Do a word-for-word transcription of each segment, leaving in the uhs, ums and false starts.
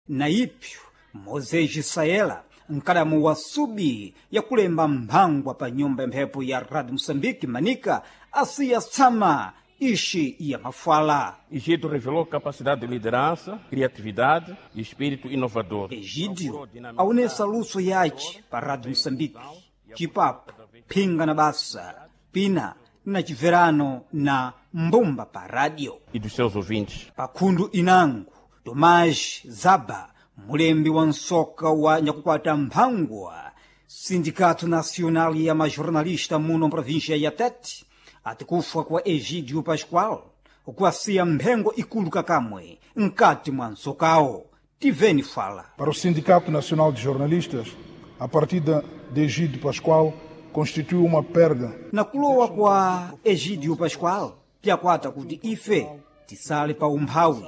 Na ipyo Moses Saela, mkadamu wa subi yakulemba mphangwa pa nyumba ya mphepo ya Rádio Moçambique Manika, asiya tsama ixi ya mafala. Egídio revelou capacidade de liderança, criatividade e espírito inovador. Egídio aonesa luso yace pa Rádio Moçambique, cipapo, phinga na basa, pina na civerano na mbumba pa rádio. E dos seus ouvintes. Pakhundu inango, Tomás Zaba, mulembi wa nsoka wa nyakukwata mphangwa, Sindicato Nacional ya Majornalista muno província ya Tete, ati kufa kwa Egídio Pascoal kuasiya mphengo ikulu kakamwe nkati mwa nsokawo. Tiveni fala. Para o Sindicato Nacional de Jornalistas, a partida de Egídio Pascoal constitui uma perda. Na kulowa kwa Egídio Pascoal, pyakwata kuti ife tisale pa umphawi.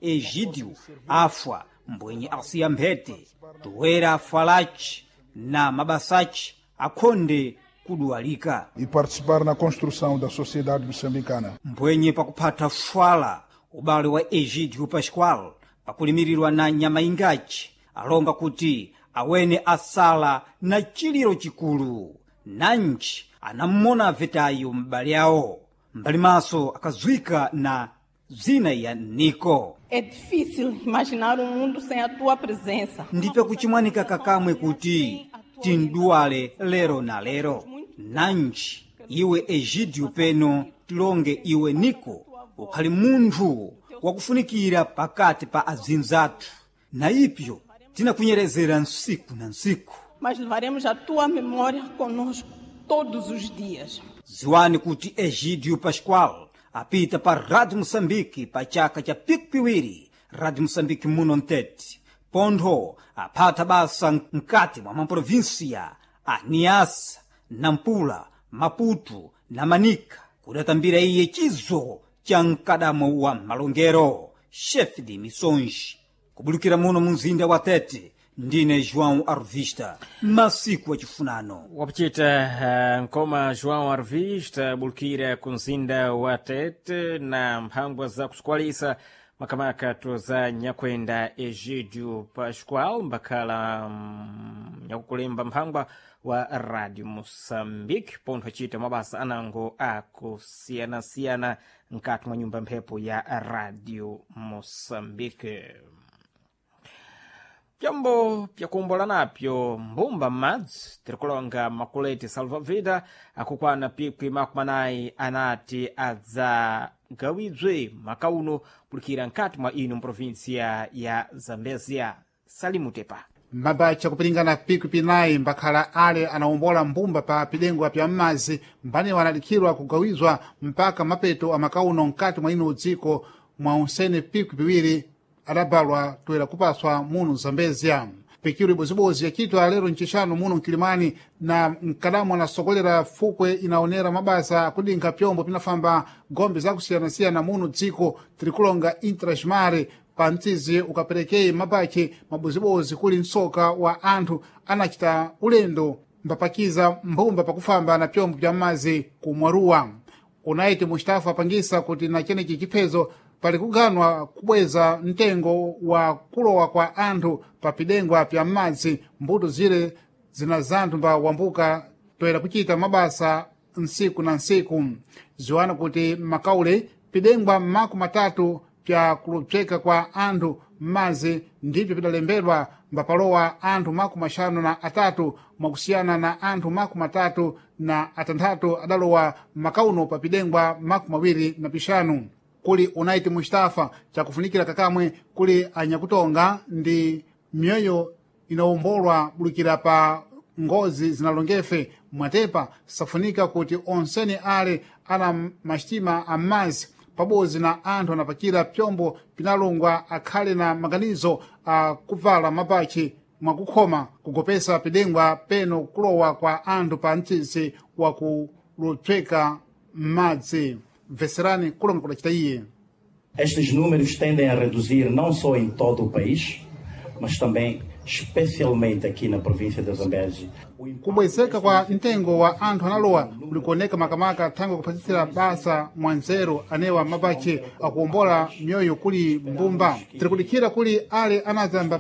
Egídio afwa mbwenye asiya mphete, toera afalaci na mabasaci akhonde kuduwalika. E participar na construção da sociedade moçambicana. Mbwenye pakuphatha fwala ubale wa Egídio Pascoal pakulimirirwa na nyama ingaci, alonga kuti awene asala na chiliro chikulu, nanji anammona avetayo m'bale awo, mbali maso akazwika na zina ya Niko. É difícil imaginar um mundo sem a tua presença. Ndipe kuchimwanika kakamwe kuti tinduwale lero na lero. Nanji iwe Egídio peno tilonge iwe Niko ukhali munthu wakufunikira pakati pa azinzathu, na ipyo tinakunyerezera nsiku na nsiku. Mas levaremos a tua memória conosco todos os dias. Ziwani kuti Egídio Pascoal apita pa Rádio Moçambique pa chaka cha piku piwiri, Rádio Moçambique muno mtete, pontho aphatha basa mkati mwa maprovinsia a Niassa, Nampula, Maputo na Manica, kudatambira iye chizo cha mkadamo wa malongero, chefe de missões. Kubulukira muno mu mzinda wa Tete, ndine João Arvista, masiku achifunano. Wapuchita uh, nkoma João Arvista bulukira ku mzinda wa Tete na mphangwa za kusikwalisa makamaka za nyakwenda Egídio Pascoal mbakhala mm, nyakukulemba mphangwa wa Radio Moçambique, pontho acita mabasa anango akusiyanasiyana nkati mwa nyumba mphepo ya Radio Moçambique. Pyombo pyakuombola napyo mbumba m'madzi tirikulonga makuleti salvavida akukwana pikwi makumi anayi anati adzagawidwe makauno kulikira nkati mwa ino mprovinsia ya Zambezia. Salimutepa. Mabacha kupilingana pikwi pinayi mbakhala ale anawombola mbumba pa pidengwa pya m'madzi mbaniwo anadikhirwa kugawizwa mpaka mapeto amakauno mkati mwa ino dziko mwa unsene pikwi piwiri adabalwa toera kupaswa muno Zambezia. Pikiro ibozibozi yachitwa lero ncixanu muno mkilimani na mkadamu anasokolera fukwe inaonera mabasa akudinkha pyombo pinafamba gombe zakusiyanasiyana muno dziko tirikulonga intrasmare pa mtsizi ukaperekei mabachi mabozibozi kuli msoka wa anthu anachita ulendo mbapakiza mbumba pakufamba na pyombo pya m'madzi kumwaruwa. Unaiti Mustafa apangisa kuti na chenechi chiphezo pali kuganwa kubweza mtengo wa kulowa kwa anthu pa pidengwa pya m'madzi mbuto zire zina zanthu mba wambuka toera kuchita mabasa nsiku na nsiku. Ziwana kuti makaule pidengwa makumi matatu pya kulupseka kwa anthu m'madzi ndipyo pidalembedwa mbapalowa anthu makumi axanu na atatu mwakusiyana na anthu makumi atatu na atanthatu adalowa makauno pa pidengwa makumi awiri na pixanu. Kuli Unaiti Mustafa chakufunikira kakamwe kuli anyakutonga ndi mioyo inawombolwa bulukira pa ngozi zinalongefe mwatepa safunika kuti onsene ale ana masitima am'madzi pabodzi na anthu anapakira pyombo pinalongwa akhale na maganizo a kuvala mapachi mwakukhoma kugopesa pidengwa peno kulowa kwa anthu pa mtsitsi wa kulupseka m'madzi. Mveserani kulonga kudacita iye. Estes números tendem a reduzir não só em todo o país, mas também especialmente aqui na província de Zambeze. Kubwezeka kwa mtengo wa anthu analowa kulikuoneka makamaka thangwe kuphatisira basa mwanzeru anewa mapachi akuwombola mioyo kuli mbumba. Tirikudikhira kuli ale anazamba